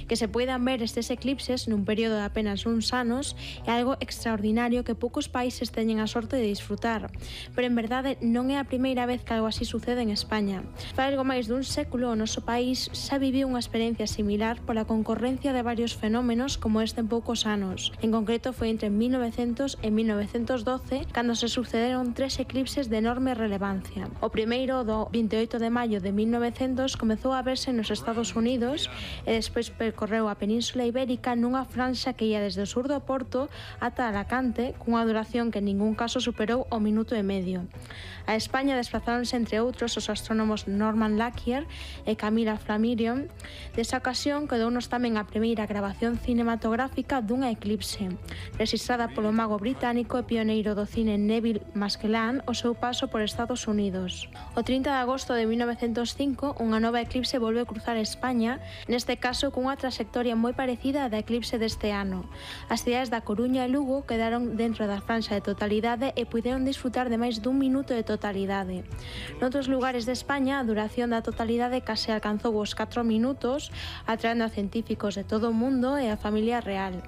Que se puedan ver estes eclipses nun período de apenas uns anos é algo extraordinario que poucos países teñen a sorte de disfrutar, pero en verdade non é a primeira vez que algo así sucede en España. Fai algo máis dun século o noso país xa viviu unha experiencia similar pola concorrencia de varios fenómenos como este en poucos anos. En concreto foi entre 1900 e 1912 cando se sucederon 3 eclipses de enorme relevancia. O primeiro, do 28 de maio de 1900, comezou a verse nos Estados Unidos e despois percorreu a Península Ibérica nunha franxa que ia desde o sur do Porto ata Alacante, cunha duración que en ningún caso superou o minuto e medio. A España desplazáronse entre outros os astrónomos Norman Lockyer e Camilla Flammarion. Desa ocasión quedounos tamén a primeira grabación cinematográfica dunha eclipse, registrada polo mago británico e pioneiro do cine Neville Maskelyne o seu paso por Estados Unidos. O 30 de agosto de 1905, unha nova eclipse volve a cruzar España, neste caso cunha trayectoria moi parecida á da eclipse deste ano. As cidades da Coruña e Lugo quedaron dentro da franxa de totalidade e puideron disfrutar de máis dun minuto de totalidade. Noutros lugares de España, a duración da totalidade case alcanzou os 4 minutos, atraendo a científicos de todo o mundo e a familia real.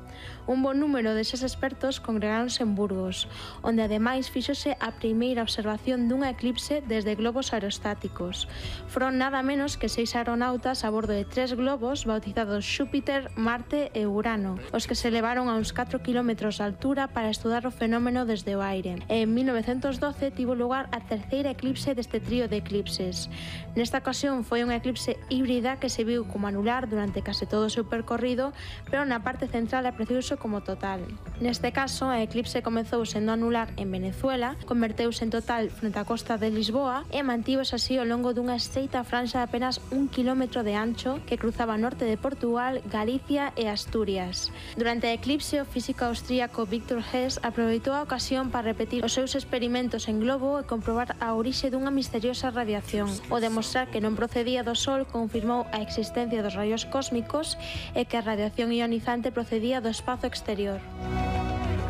Un bon número deses expertos congregáronse en Burgos, onde ademais fíxose a primeira observación dunha eclipse desde globos aerostáticos. Foron nada menos que 6 aeronautas a bordo de 3 globos bautizados Xúpiter, Marte e Urano, os que se elevaron a uns 4 km de altura para estudar o fenómeno desde o aire. En 1912 tivo lugar a terceira eclipse deste trío de eclipses. Nesta ocasión foi unha eclipse híbrida que se viu como anular durante case todo o seu percorrido, pero na parte central apreciou-se como total. Neste caso, a eclipse comezou sendo anular en Venezuela, converteuse en total frente á costa de Lisboa e mantívose así ao longo dunha estreita franxa de apenas 1 km de ancho que cruzaba norte de Portugal, Galicia e Asturias. Durante a eclipse, o físico austríaco Victor Hess aproveitou a ocasión para repetir os seus experimentos en globo e comprobar a orixe dunha misteriosa radiación. O demostrar que non procedía do Sol confirmou a existencia dos raios cósmicos e que a radiación ionizante procedía do espazo exterior.